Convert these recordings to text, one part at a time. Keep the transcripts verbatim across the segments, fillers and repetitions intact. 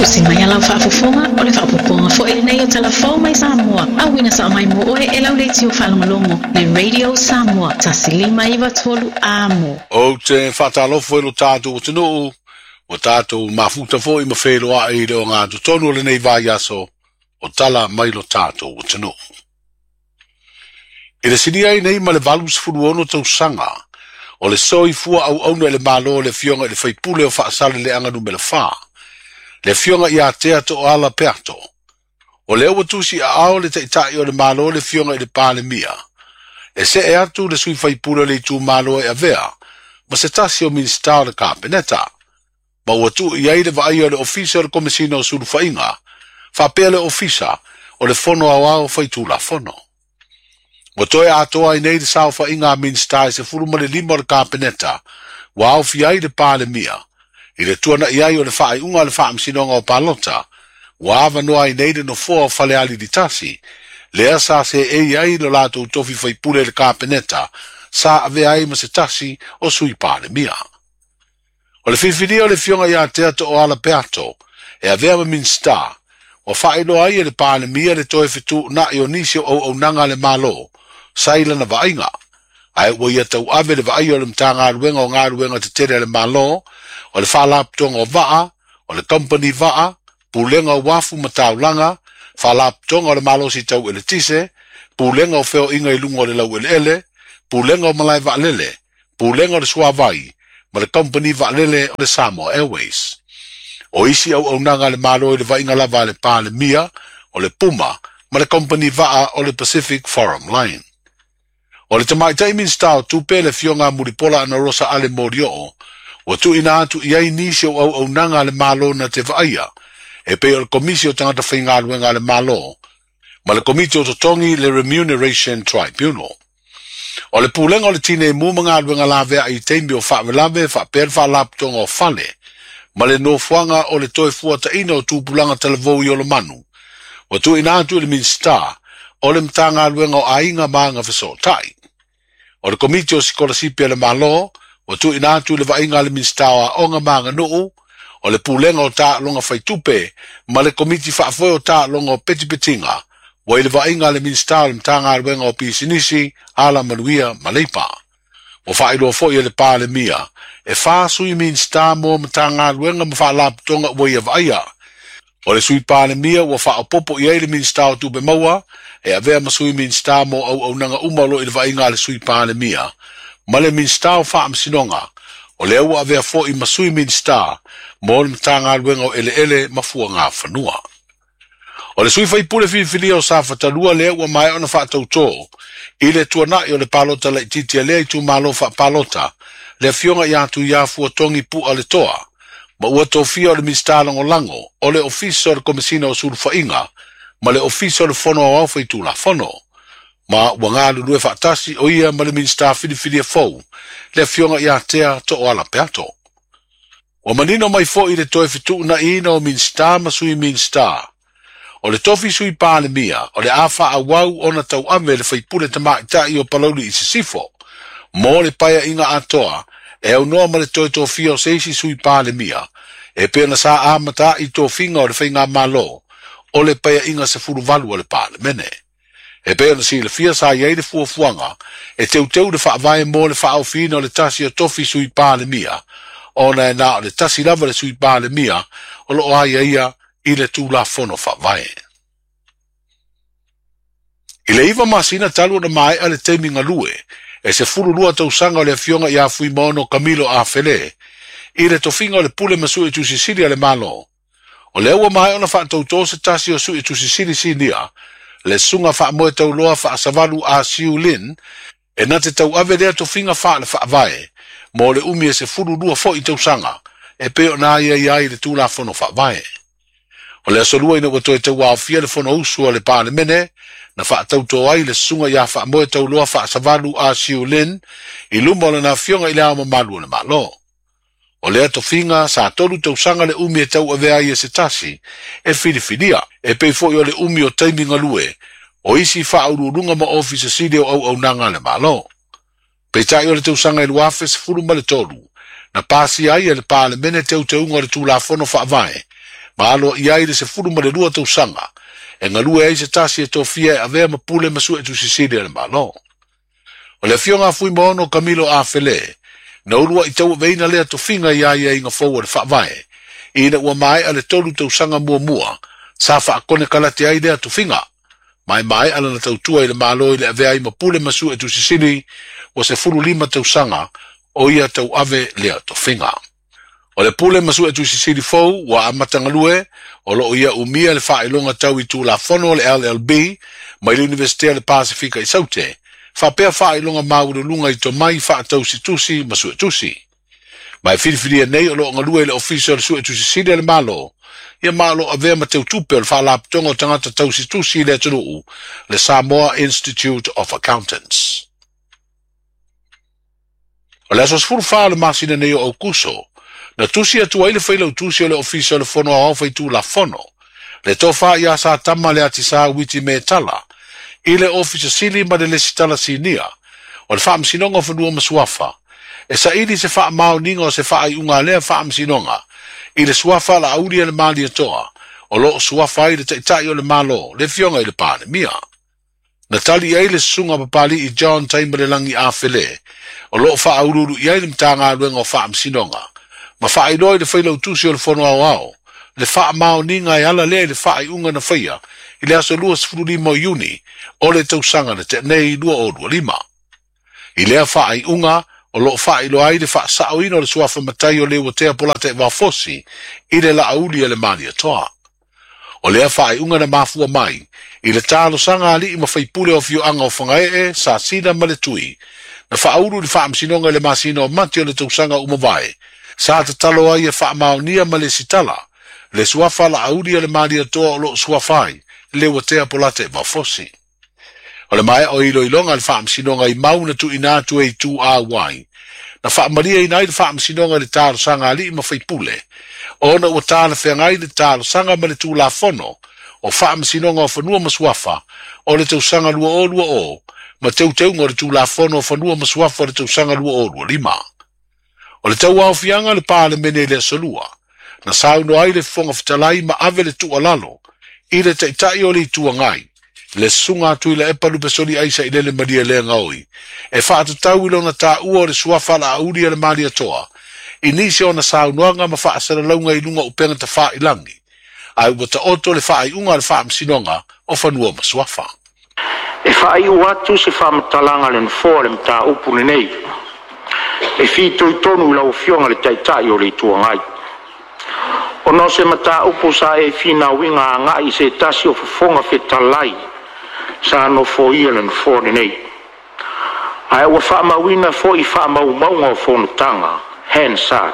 Tusi mai a lau faafofoga o le faaopoopoga foi lenei o Tala Fou mai Samoa. Auina sao mai mo oe e lau leitio faalogologo le Radio Samoa tasi lima iva tolu amo. Ou te faatalofa i lo tatou atunuu, ua tatou mafuta foi ma feiloai i le ogatotonu o lenei vaiaso o tala mai lo tatou atunuu. I le silia ai nei ma le valu sefulu ono tausaga, o le soifua auauna i le Malo le Afioga i le Faipule o Faasaleleaga numera fa, le Afioga ia Tea Tooala Peato. O lea ua tusi aao le Taitai o le Malo le Afioga i le Palemia, e see atu le sui faipule o le itumalo e avea ma se tasi o Minisita o le Kapeneta, ma ua tuu i ai le vaaia o le Ofisa o le Komesina o Sulufaiga, faapea le Ofisa o le Fono Aoao Faitulafono. Ua toe atoa ai nei le saofaiga a Minisita e sefulu ma le lima o le Kapeneta, ua aofia ai le Palemia, i le tuana'i ai o le faaiuga a le Faamasinoga o Palota, ua avanoa ai nei le nofoa o Falealili tasi, lea sa seei ai lo latou tofi faipule i le Kapeneta, sa avea ai ma se tasi o sui Palemia. O le filifilia o le Afioga ia Tea Tooala Peato, e avea ma Minisita, ua faailoa ai e le Palemia le toe fetuuna'i o nisi o auaunaga a le Malo, sa i lana vaaiga, ae ua ia tauave le vaaia o le Matagaluega o Galuega Tetele a le Malo, o le Faalapotopotoga o Vaa, o le Kamupani Vaa, Pulega o Uafu ma Taulaga, Faalapotopotoga o le Malosi Tau Eletise, Pulega o Feoaiga i luga o le Laueleele, Pulega o Malae Vaalele, Pulega o le Suavai, ma le Kamupani Vaalele o le Samoa Airways. O isi auaunaga a le Malo i le vaaiga lava a le Palemia, o le Puma, ma le Kamupani Vaa o le Pacific Forum Line. O le Tamaitai Minisita o Tupe le Afioga Mulipola Anarosa Ale Molioo, ua tuuina atu i ai nisi o auaunaga a le Malo na te vaaia, e pei o le Komisi o Tagata Faigaluega a le Malo, ma le Komiti o Totogi le Remuneration Tribunal. O le Pulega o le Tineimu ma Galuega Lavea i taimi o faalavelave faapea le Faalapotopotoga o Fale, ma le nofoaga o le toe fuataina o tupulaga talavou i Olomanu, ua tuuina atu i le Minisita o le Matagaluega o Aiga ma Agafesootai. O le Komiti o Sikolasipi a le Malo, ua tuuina atu i le vaaiga a le Minisita o Aoga ma Aganuu, o le Pulega o Taaloga Faitupe ma le Komiti Faafoe o Taaloga o Petipetiga, ua i le vaaiga a le Minisita o le Matagaluega o Pisinisi, Alamanuia ma Leipa. Ua faailoa foi e le Palemia, e fa sui Minisita mo Matagaluega ma Faalapotopotoga ua ia vaaia. O le sui Palemia ua faaopoopo i ai le Minisita o Tupe Maua, e avea ma sui Minisita mo auaunaga uma o lo o i le vaaiga a le sui Palemia, ma le Minisita o Faamasinoga, o lea ua avea foi ma sui Minisita mo le Matagaluega o Eleele ma Fuagafanua. O le sui faipule filifilia o Safatalua lea ua maea ona faatautō i le tuana'i o le palota laitiiti a lea itumalo faapalota, le Afioga ia Tuiafuatogi Pua le Toa, ma ua tofia o le Minisita Lagolago o le Ofisa o le Komesina o Sulufaiga ma le Ofisa o le Fono Aoao Faitulafono, ma ua galulue faatasi o ia ma le Minisita filifilia fou, le Afioga ia Tea Tooala Peato. Ua manino mai foi le toe fetuunaiina o Minisita ma sui Minisita. O le tofi sui Palemia, o le a faaauau ona tauave le faipule tamaitai o Palauli i Sisifo, mo le paeaiga atoa, e aunoa ma le toe tofia o se isi sui Palemia, e pei ona sa amata ai tofiga o le Faigamalo, o le paeaiga sefulu valu o le Palemene. E pei ona silafia sa i ai le fuafuaga, e teuteu le faavae mo le faaofiina o le tasi o tofi sui Palemia, ona e na o le tasi lava le sui Palemia o loo aiaia i le Tulafono Faavae. I le iva masina talu ona maea le taimi galue, e sefulu lua tausaga o le Afioga ia Fuimaono Kamilo Afele, i le tofiga o le Pule ma Suetusi Sili a le Malo. O lea ua maea ona faatautō se tasi o Suetusi Sili sinia, le Susuga Faamoe Tauloa Faasavalu a Siu Lin, e na te tauave lea tofiga faale faavae, mo le umi e sefulu lua foi tausaga, e pei ona aiaia ai le Tulafono Faavae. O le aso lua ina ua toe tauaofia le Fonousu a le Palemene, na faatautō ai le Susuga ia Faamoe Tauloa Faasavalu a Siu Lin i luma o lana Afioga i le Ao Mamalu o le Malo. O lea tofiga sa tolu tausaga le umi e tauavea ai e se tasi, e filifilia, e pei foi o le umi o taimi galue, o isi faauluuluga ma ofisa sili o auaunaga a le Malo. Peitai o le tausaga e luafe sefulu ma le tolu, na pasia ai e le Palemene teuteuga o le Tulafono Faavae, Ma alo i ai le sefulu ma le lua tausaga e galue ai se tasi e tofia e avea ma pule ma suetusi sili a le Malo. O le afioga a Fuimaono Kamilo Afele, na uluai tauaveina lea tofiga i aiaiga fou o le faavae, ina ua maea le tolu tausaga muamua sa faakonekarate ai lea tofiga. Ma e maea lana tautua i le Malo i le avea ai ma pule ma suetusi sili ua sefulu lima tausaga o ia tauave lea tofiga. O le pule ma suetusi sili fou ua amata galue o loo ia umia le faailoga tau i Tulafono o le L L B mai le Iunivesite o le Pasifika i Saute, faapea faailoga maualuluga i tomai faatausitusi ma suetusi. Ma e filifilia nei o loo galue i le Ofisa o le Suetusi Sili a le Malo, ia ma o loo avea ma teutupe o le Faalapotopotoga o Tagata Tausitusi i le atunuu, le Samoa Institute of Accountants. O le aso sefulu fa o le masina nei o Aukuso, na tusi atu ai le failautusi o le Ofisa o le Fono Aoao Faitulafono, le tofa ia Satama Leatisā Uiti Metala, i le Ofisa Sili ma le Lesitala Sinia o le Faamasinoga o Fanua ma Suafa, e saili se faamaoniga o se faaiuga a lea faamasinoga i le suafa Laauli a le Malietoa o loo suafa ai le Taitai o le Malo, le afioga i le Palemia. Na tali ai le susuga Papali'i John Taimalelagi Afele o loo faauluulu i ai le Matagaluega o Faamasinoga ma faailoa i le failautusi o le Fono Aoao le faamaoniga e ala lea i le faaiuga na faia i le aso luasefululima o Iuni o le tausaga na tea nei dua o lua lima. I lea faaiuga o loo faailoa ai le faasaoina o le suafa matai o Leuatea Polataivao Fosi i le Laauli a le Malietoa. O lea faaiuga na mafua mai i le talosaga a alii ma faipule o afioaga o Fagaee, Sasina ma le Tui, na faaulu i le faamasinoga i le masina o Mati o le tausaga ua mavae, sa tatalo ai e faamaonia ma lesitala le suafa Laauli a le Malietoa o loo suafa ai Leuatea Polataivao Fosi. O le maea o iloiloga a le faamasinoga i mau na tuuina atu e itu auai, na faamaliaina ai le faamasinoga i le talosaga a alii ma faipule, ona ua talafeagai le talosaga ma le Tulafono o Faamasinoga o Fanua ma Suafa o le tausaga dua o lua o ma teuteuga o le Tulafono o Fanua ma Suafa o le tausaga dua o lua lima. O le tauaofiaga o le Palemene i le aso Lua, na saunoa ai le Fofoga Fetalai ma ave le tuualalo i le Taitai o le Itu Agai, le susuga a Tuilaepa Lupesoli Sailele Malielegaoi, e faatatau i lona taua o le suafa Laauli a le Malietoa i nisi ona saunoaga ma faasalalauga i luga o upega tafailagi, ae ua taoto le faaiuga a le Faamasinoga o Fanua ma Suafa. E faaiu atu se faamatalaga a le Nofoa le mataupu lenei e fitoitonu i lau Afioga le Taitai o le Itu Agai. Ona o se mataupu sa e finauina agai i se tasi o fofoga fetalai sa nofoia le Nofoa lenei. Ae ua faamauina foi faamaumauga o fonotaga Hansard,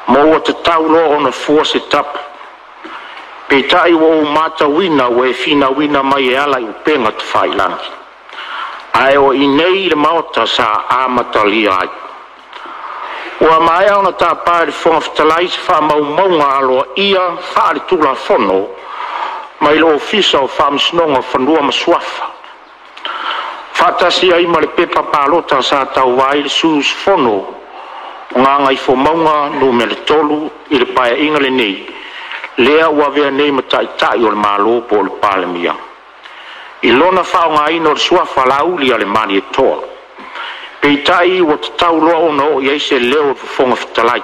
ma ua tatau loa ona fua se tapu. Peitai ua ou matauina ua e finauina mai e ala i upega tafailagi. Ae o i inei i le Maota sa amatalia ai. Ua maea ona tapa e le Fofoga Fetalai se faamaumauga aloaia faale-Tulafono mai le Ofisa o Faamasinoga o Fanua ma Suafa, faatasi ai ma le pepa palota sa tauva ai le sui usufono o Gagaifomauga Nu tolu i le Paeaiga lenei, lea ua avea nei ma Taitai o le Malo po o le Palemia, i lona faaaogaina o le suafa Laauli a le Malietoa. Peitai ua tatau loa ona oo i ai se leo o le Fofoga Fetalai.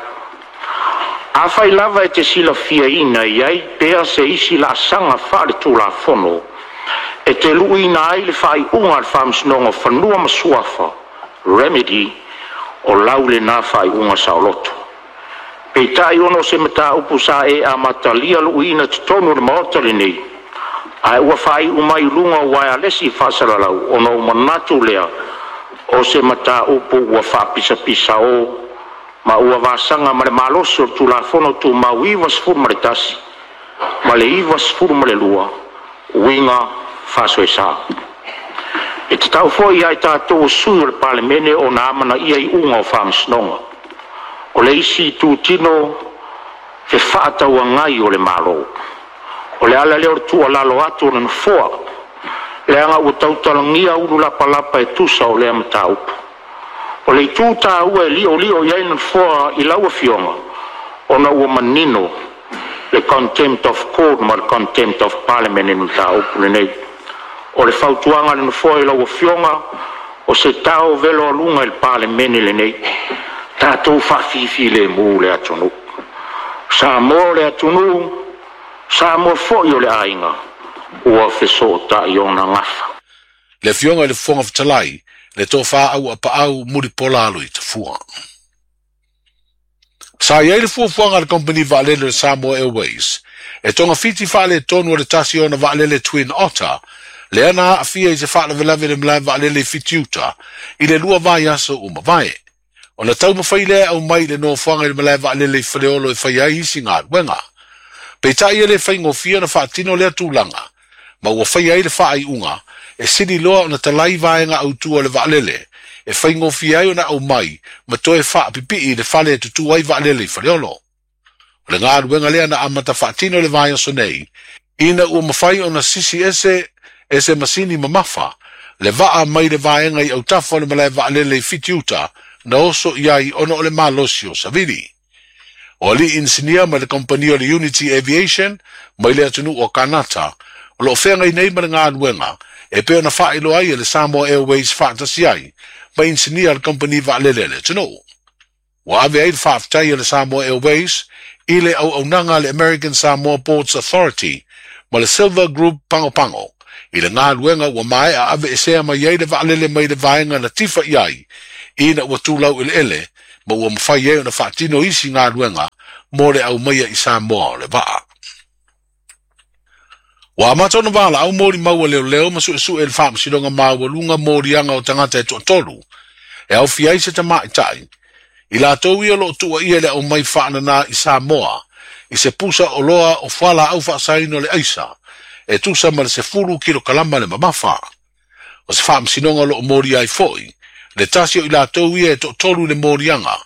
Afai lava e te silafiaina e i ai pea se isi laasaga faale-Tulafono e te luiina ai le faaiuga a le Faamasinoga o Fanua ma Suafa remedy o lau lena faaiuga saoloto. Peitai ona o se mataupu sa e amatalia luiina totonu o le Maota lenei, ae ua faaiu mai i luga o uaealesi faasalalau ona ou manatu lea o se mataupu ua faapisapisao ma ua vasaga ma le malosi o le Tulafono Tumau ivasefulu ma le tasi ma le ivasefulu ma le lua uiga faasoesa. E tatau foi ia i tatou o sui o le Palemene ona amanaia iuga o faamasinoga. O le isi itutino fefaatauagai o le Malo. O le ala lea o le tuualalo atu o le Nofoa, leaga ua tautalagia ulu lapalapa e tusa o lea mataupu. O le itu taua e liolio i ai le Nofoa i lau Afioga, ona ua manino le Le contempt of court ma le contempt of parliament i le mataupu lenei. O le fautuaga a le Nofoa i lau Afioga, o se tao velo aluga i le Palemene lenei, tatou faafifilemu le atunuu. Samoa o le atunuu, Samoa foi o le aiga, ua fesootai ona gafa. Le Afioga i le Fofoga Fetalai, le Tofa Auuapaau Mulipola Aloitafua. Sa i ai le fuafuaga a le Kamupani Vaalele o le Samoa Airways e togafiti faaletonu o le tasi o ona vaalele Twin Otter lea na aafia i se faalavelave i le malae vaalele i Fitiuta i le lua vaiaso ua mavae. Ona taumafai lea e aumai i le nofoaga i le malae vaalele i Faleolo e fai ai isi galuega. Peitai e le faigofie ona faatino lea tulaga, ma ua faia ai le faaiuga e sili loa ona talai vaega autu o le vaalele e faigofie ai ona aumai ma toe faapipii i le fale e tutū ai vaalele i Faleolo. O le galuega lea na amata faatino i le vaiaso nei, ina ua mafai ona sisi ese e se masini mamafa le vaa mai le vaega i autafa o le malae vaalele i Fitiuta na oso i ai ona o le malosi o savili. O alii inisinia mai le kamupani o le Unity Aviation mai le atunuu o Kanata o lo o feagai nei ma le galuega e pei ona faailoa ai e le Samoa Airways faatasi ai ma inisinia a le kamupani vaalele a le atunuu. Ua ave ai le faafetai a le Samoa Airways i le auaunaga a le American Samoa Ports Authority ma le Silver Group Pagopago i le galuega ua maea aveesea mai ai le vaalele mai le vaega na tifa i ai ina ua tulau eleele ma ua mafai ai ona faatino isi galuega mo le aumaia i Samoa o le vaa. Ua amata ona valaau molimau a leoleo ma suesue i le Faamasinoga Maualuga moliaga o tagata e toatolu e aofia ai se tamaitai, i latou ia o lo o tuuaia i le aumai faanana i Samoa i se pusa oloa o fualaau faasaina o le aisa e tusa ma le sefulu kilokalama le mamafa. O se faamasinoga o lo o molia ai foi le tasi o i latou ia e toatolu i le moliaga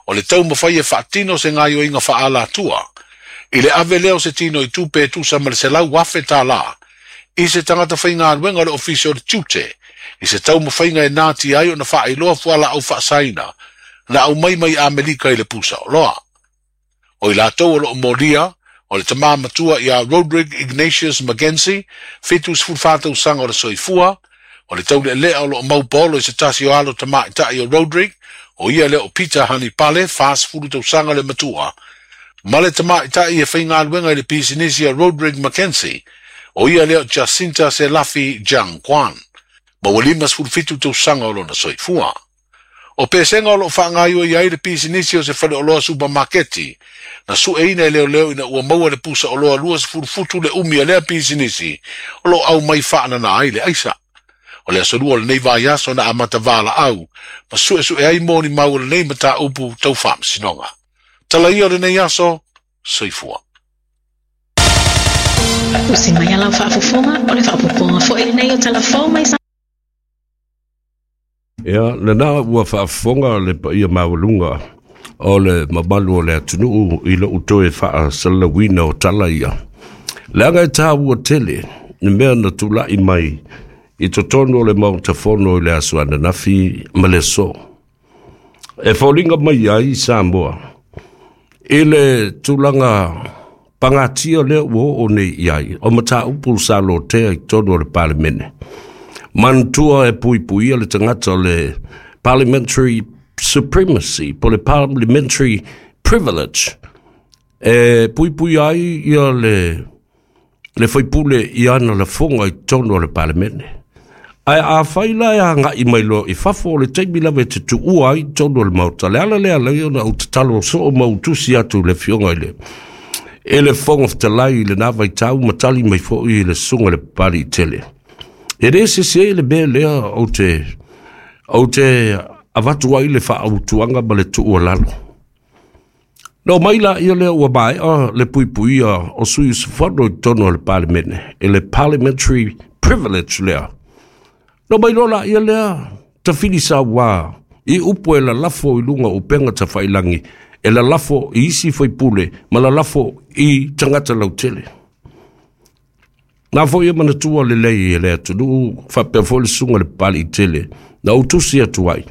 o le taumafai e faatino se gaoioiga faaalatua i le ave lea o se tino i tupe e tusa ma le selau afe tālā i se tagata faigaluega o le Ofisa o le Tiute i se taumafaiga e natia ai ona faailoa fualaau faasaina na aumai mai Amerika i le pusa oloa. O i latou o lo o molia, o le tama matua ia Roderick Ignatius McKenzie, fitu sefulu fa tausaga o le soifua, o le taulealea o lo o maupaolo i se tasi o alo tamaitai o Roderick, o ia lea o Peter Hanipale, fa sefulu tausaga le matua, ma le tamaitai e faigaluega i le pisinisi a Roderick McKenzie, o ia lea o Jacinta Selafi Jiang Quan, ma ua lima sefulu fitu tausaga o lona soifua. O pesega o lo o faagaoioi ai le pisinisi o se faleoloa supamaketi, na sueina e leoleo ina ua maua le pusa oloa lua sefulu futu le umi a lea pisinisi o lo o aumai faanana ai le aisa. O le aso lua o lenei vaiaso na amata valaau ma suesue ai molimau o lenei mataupu tau faamasinoga. Tala ia o lenei aso, soifua. Usi mai a lau faafofoga o le faaopoopoga foi lenei o Tala Fou mai Samoa. Ia, lena ua faafofoga le paia maualuga o le mamalu o le atunuu i lou toe faasalalauina o tala ia. Leaga e tāua tele le mea na tulai mai i totonu o le Maota Fono i le aso ananafi ma le aso. E foliga mai ai Samoa i le tulaga pagatia lea ua oo nei i ai o mataupu sa lotea i totonu o le Palemene. Manatua e puipuia le tagata o le parliamentary supremacy po le parliamentary privilege e puipuia ai ia le le faipule i ana lafoga i totonu o le Palemene. Ae afai la e agai mai loa i fafo o le taimi lava e te tuua ai i totonu o le Maota, le ala lea alai ona ou tatalo soo ma ou tusi atu i le Afioga i le e le Fofoga Fetalai i lena vaitau ma tali mai foi i le Susuga i le Papaliitele. E le sese le mea lea ou te ou te avatu ai le faautuaga ma le tuualalo. Na omai laia lea ua maea le puipuia o sui usufono i totonu o le Palemene i le parliamentary privilege lea. Na omai loa laia lea tafili sauā i upu e lalafo i luga o upega tafailagi, e lalafo i isi faipule ma lalafo i tagata lautele. Na foi e manatua lelei e le atunuu faapea foi le Susuga i le Papaliitele na ou tusi atu ai.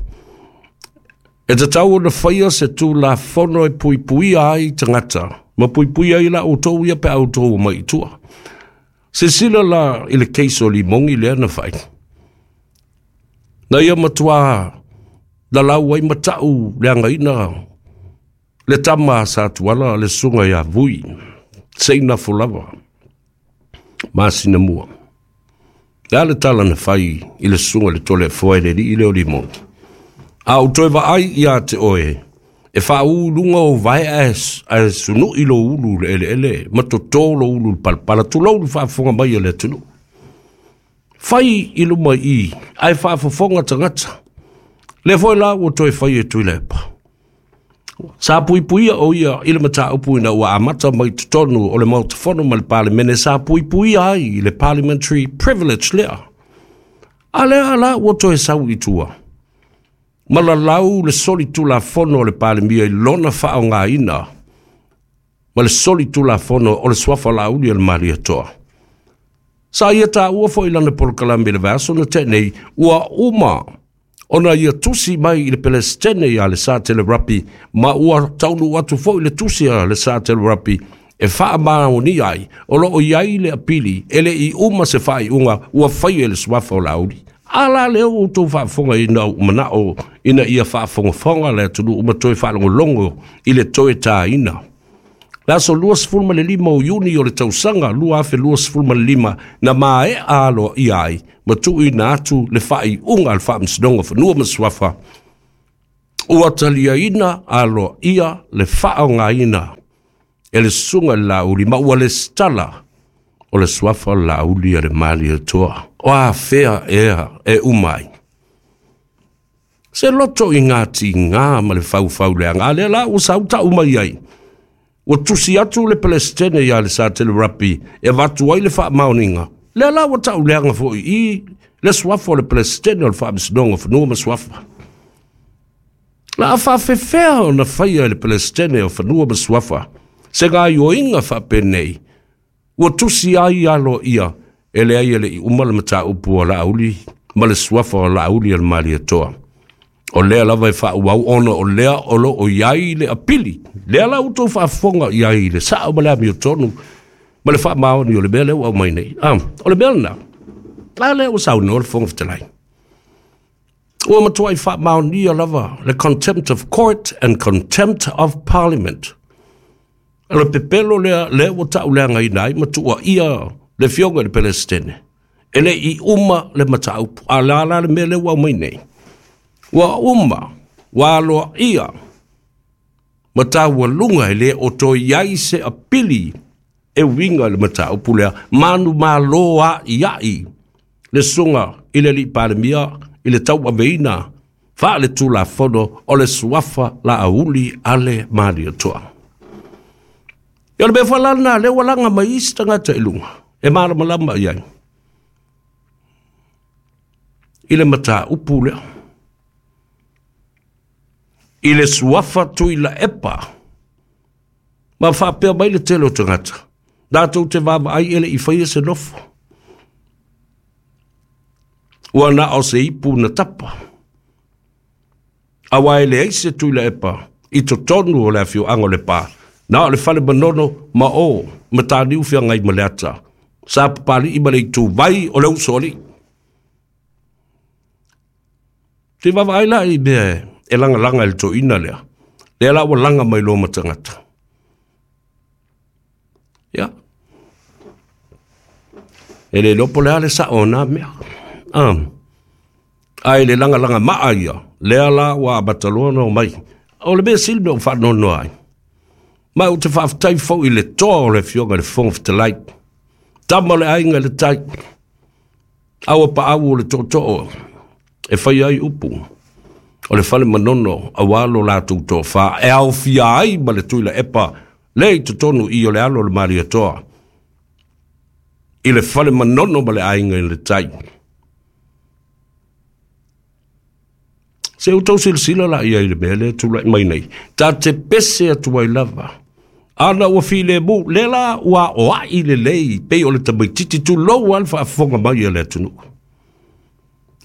E tatau ona faia se Tulafono e puipuia ai tagata Ma puipui ai la outou ia pe outou mai i tua. Silasila la i le case o Limogi lea na fai. Na ia matua lalau ai matau le againa le tama a Satuala le susuga ia Vui, seinafo lava, masina mua. Le a le tala na fai i le susuga le Toleafoa e le alii lea o Limogi. A ou toe vaai ia te oe, e faaū luga o vae ae sunui lo ulu le eleele, ma totō lo ulu le palapala, tulou le faafofoga mai a le atunuu. Fai i luma i, ae faafofoga tagata. Le foi la ua toe fai e Tuilaepa. Sa puipuia o ia i le mataupu ina ua amata mai totonu o le Maota Fono ma le Palemene, sa puipuia ai i le parliamentary privilege lea. A lea la ua toe sau i tua. Ma lalau le solitulafono o le Palemia i lona faaaogaina ma le solitulafono o le suafa Laauli o le Malietoa. Sa ia taua foi lana polokalame i le vaiaso na tea nei, ua uma ona ia tusi mai i le Pelesitene ia le Satele Rapi, ma ua taunuu atu foi le tusi a le Satele Rapi e faamaonia ai o loo i ai le apili e le i uma se faaiuga ua faia e le suafa o Laauli. A la lea ua outou faafofoga ina ua manao ina ia faafogafoga le atunuu ma toe faalogologo i le toe taina. Le aso luasefulumalima o Iuni o le tausaga lua afe luasefulumalima na maea aloaia ai ma tuuina atu le faaiuga a le Faamasinoga o Fanua ma Suafa ua taliaina aloaia le faaaogaina e le susuga i le Laauli ma ua lesitala o le suafa o le Laauli a le Malietoa. O afea ea e uma ai. Se loto i ngā tigā ma le faufauleaga, a lea la ua sau tau mai ai. Ua tusi atu le Pelesitene ia le Satele Rapi e avatu ai le faamaoniga. Lea la ua tauleaga foi i le suafa o le Pelesitene o le Faamasinoga o Fanua ma Suafa. La a faafefea ona faia e le Pelesitene o Fanua ma Suafa se gaoioiga faapenei ua tusi ai aloaia e leai e le'i uma le mataupu o Laauli ma le suafa o Laauli a le Malietoa. O lea lava e faauau ona o lea o loo i ai le apili. Lea la ua outou faafofoga i ai le sao ma le amiotonu ma le faamaoni o le mea lea ua aumai nei. Ah, o le mea lena. A lea ua saunoa le Fofoga Fetalai. Ua matuai faamaonia lava le contempt of court and contempt of parliament. O le pepelo lea, lea ua tauleagaina ai ma tuuaia le afioga i le Pelesitene. E le i uma le mataupu. A la la le mea lea ua aumai nei. Ua uma, ua aloaia, ma taualuga e le o toe i ai se apili e uiga i le mataupu lea. Manumalo a'i a'i le susuga i le alii Palemia i le tauaveina faaletulafono o le suafa Laauli a le Malietoa. Ia o le mea foi la lena lea ua laga mai isi tagata i luga e malamalama i ai i le mataupu lea. I le suafa Tuilaepa ma faapea mai le tele o tagata. Latou te vaavaai e le i faia se nofo. Ua na o se ipu na tapa. Aua e leai se Tuilaepa i totonu o le afioaga o Lepa. Na o le fale Manono ma o Mataniu Feagai ma Leata. Sa Papali'i ma le ituvai o le usoalii. Te vaavaai la i mea e lagalaga e le toeaina lea. Lea la ua laga mai loa ma tagata. Ia. E le iloa po o le a le sao o na mea. Ah. Ae le lagalaga maa ia, lea la ua amata loa ona omai. O le mea sili mea ua faanoanoa ai. Ma ou te faafetai foi i le toa o le afioga i le Fofoga Fetalai. Tama o le aiga i le tai. Aua paau o le tootoo e fai ai upu. O le fale Manono aua lo latou toafa e aofia ai ma le Tuilaepa le i totonu i o le alo o le Malietoa. I le fale Manono ma le aiga i le tai. Se outou silasila la i ai i le mea lea e tulai mai nei. Ta te pese atu ai lava. Ana ua filemu, lea la ua aoai lelei pei o le tamaititi tulou lava le faafofoga mai a le atunuu.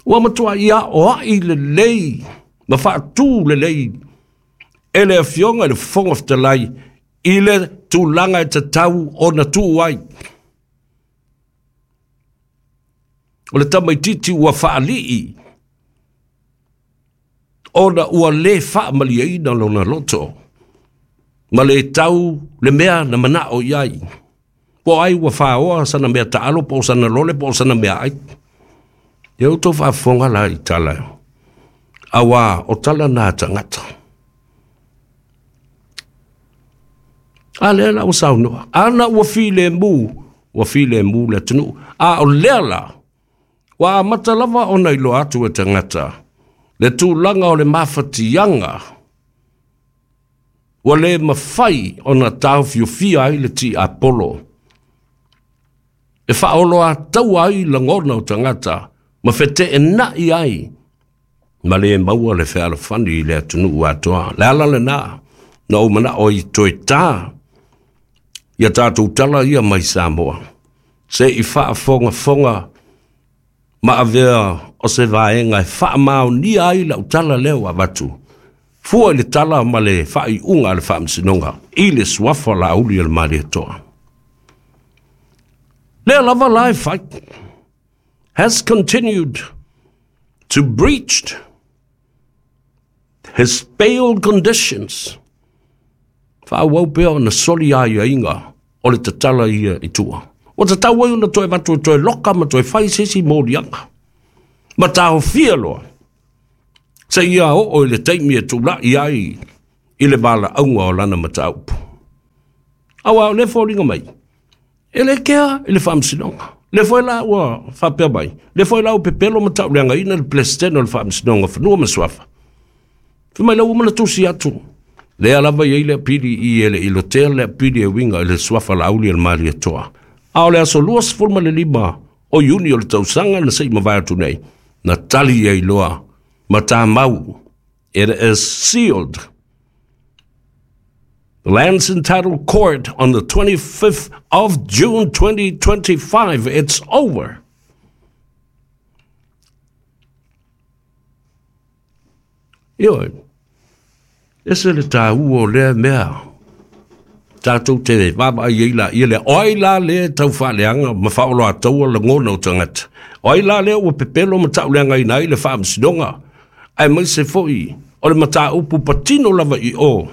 Ua matuai aoai lelei ma faatu lelei e le afioga i le Fofoga Fetalai I le tulaga e tatau ona tuu ai. O le tamaititi ua faalii ona ua le faamaliaina lona loto ma le tau le mea na manao i ai. Po ai ua faoa sana mea taalo po o sana lole po o sana mea ai. Ia outou faafofoga la i tala. Auā o tala na tagata. A lea la ua saunoa. Ana ua filemu, ua filemu le atunuu. A o lea la, ua amata lava ona iloa atu e tagata le tulaga o le mafatiaga ua le mafai ona taofiofia ai le tiapolo e faaoloataua ai lagona o tagata ma feteenai ai ma le maua le fealofani i le atunuu atoa. Le ala lenā na ou manao i toe tā ia tatou tala ia mai Samoa se i faafogafoga ma avea o se vaega e faamaonia ai lau tala lea ua avatu. Fua i le tala ma le faaiuga a le Faamasinoga i le suafa Laauli o le Malietoa. Lea lava la e fai has continued to breach his bail conditions. Faaauau pea ona soli aiaiga o le tatala ia i tua. Ua tatau ai ona toe avatu e toe loka ma toe fai se isi moliaga. Ma taofia loa seia oo i le taimi e tula'i ai i le valaauga o lana mataupu. Auā o lea foliga mai e le kea i le Faamasinoga. Le foi la ua faapea mai, le foi la ua pepelo ma tauleagaina le Peresetene o le Faamasinoga o Fanua ma Suafa. Fai mai la ua uma ona tusi atu. Lea lava i ai le apili i e le i lotea le apili e uiga i le suafa Laauli o le Malietoa. A o le aso luasefulu ma le lima o Iuni o le tausaga na se i mavae atu nei, na tali ai loa ma tamau. It is sealed. The Lands and Title Court on the twenty-fifth of June twenty twenty-five. It's over. Ioe, ese le tāua o lea mea. Tātou te vaavaai ai laia lea. O ai la lea e tau faaleaga ma faaoloataua lagona o tagata. O ai la lea ua pepelo ma tauleagaina ai le Faamasinoga. Aemaise foi o le mataupu patino lava i o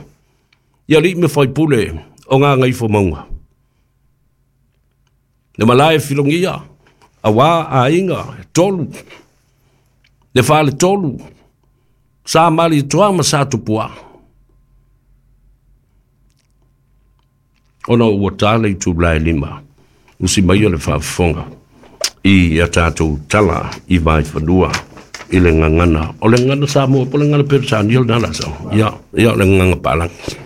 i alii ma faipule o Gagaifomauga. Le malae filogia, auā aiga e tolu, le faletolu, Sa Malietoa ma Sa Tupua. Ona ua tā le itula e lima, usi mai o le faafofoga i a tatou tala i Vaifanua i le gagana. O le gagana Samoa po o le gagana Peretania lena la sau. Ia, ia o le gagana Palangi.